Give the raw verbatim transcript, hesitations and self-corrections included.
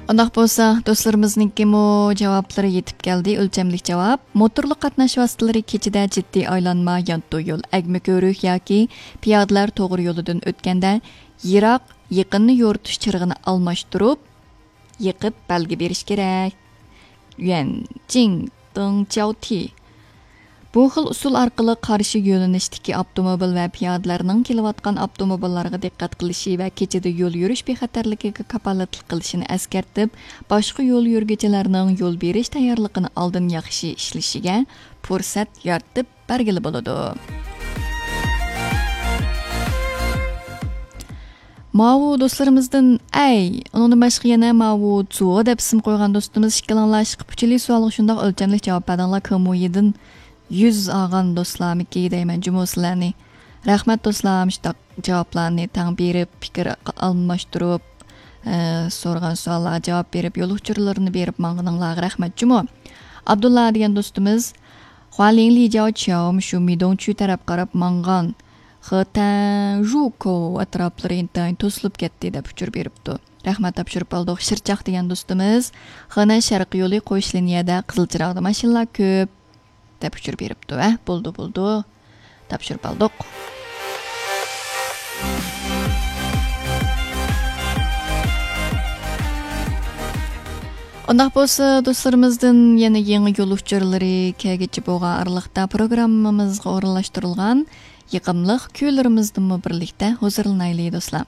ئۇنداق بولسا، دوستلىرىمىزنىڭكىمۇ جاۋابلىرى يېتىپ كەلدى. ئۆلچەملىك جاۋاب: موتورلۇق قاتناش ۋاسىتىلىرى كېچىدە جىددىي ئايلانما، يانتۇ يول، ئەگمە كۆۋرۈك ياكى پىيادىلەر توغرا يولىدىن ئۆتكەندە، يىراق، يېقىننى يورۇتۇش چىرىغىنى ئالماشتۇرۇپ، يېقىپ بەلگە بېرىش كېرەك. يۈەن جىڭ دېڭ جياۋ تى. بۇ خىل ئۇسۇل ئارقىلىق قارشى يۆنىلىشتىكى ئاپتوموبىل ۋە پىيادىلەرنىڭ كېلىۋاتقان ئاپتوموبىللارغا دىققەت قىلىشى ۋە كېچىدە يول يۈرۈش بىخەتەرلىكىگە كاپالەتلىك قىلىشىنى ئەسكەرتىپ، باشقا يول يۈرگۈچىلەرنىڭ يول بېرىش تەييارلىقىنى ئالدىن ياخشى ئىشلىشىگە پۇرسەت يارىتىپ بەرگىلى بولىدۇ. ماۋۇ دوستلىرىمىزدىن، ئەي، ئۇنىڭدىن باشقا يەنە ماۋۇ زۇ دەپ ئىسىم قويغان دوستىمىز، ئىككىلىڭلار ئىشقىپ ئۇچىلى سوئالغا شۇنداق ئۆلچەملىك جاۋاب بەردىڭلار. كېمۇيىدىن يۈز ئالغان دوستلارمىكى دەيمەن جۇمۇ سىلەرنى. رەھمەت دوستلار، مۇشۇنداق جاۋابلارنى تەڭ بېرىپ، پىكىر ئالماشتۇرۇپ، ئە، سورىغان سوئاللارغا جاۋاب بېرىپ، يول ئۇچۇرلىرىنى بېرىپ ماڭغىنىڭلارغا رەھمەت جۇمۇ. ئابدۇللا دېگەن دوستىمىز، خۇالىڭ لىجاۋ چياۋ مۇشۇ مىدوڭچۈ تەرەپ قاراپ ماڭغان خېتەن ژۇكو ئەتراپلىرى ئىنتايىن توسۇلۇپ كەتتى دەپ ئۇچۇر بېرىپتۇ. رەھمەت، تاپشۇرۇپ ئالدۇق. شىرچاق دېگەن دوستىمىز، خېنەن شەرقىي يولى قوش لىنىيەدە قىزىل چىراغدا ماشىنىلار كۆپ دەپ ئۇچۇر بېرىپتۇ. ھە، بولدى، بولدى. تاپشۇرۇپ ئالدۇق. ئۇنداق بولسا، دوستلىرىمىزدىن يەنە يېڭى يول ئۇچۇرلىرى كەلگۈچە بولغان ئارىلىقتا پروگراممىمىزغا ئورۇنلاشتۇرۇلغان يېقىملىق كۈيلىرىمىزدىنمۇ بىرلىكتە ھۇزۇرلىنايلى، دوستلار.